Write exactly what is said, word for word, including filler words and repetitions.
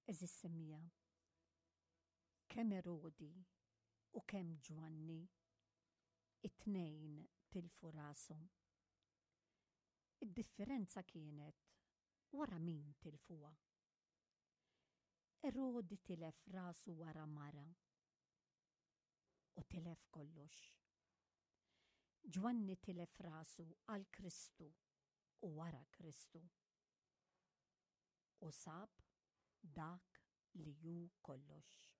Għeżież semmiegħa, kemm Erodi u kemm Ġwanni, it-tnejn tilfu rashom. Id-differenza kienet wara min tilfuha. Erodi tilef rasu wara mara u tilef kollox. Ġwanni tilef rasu għal Kristu u wara Kristu. U sab dak li hu kollox.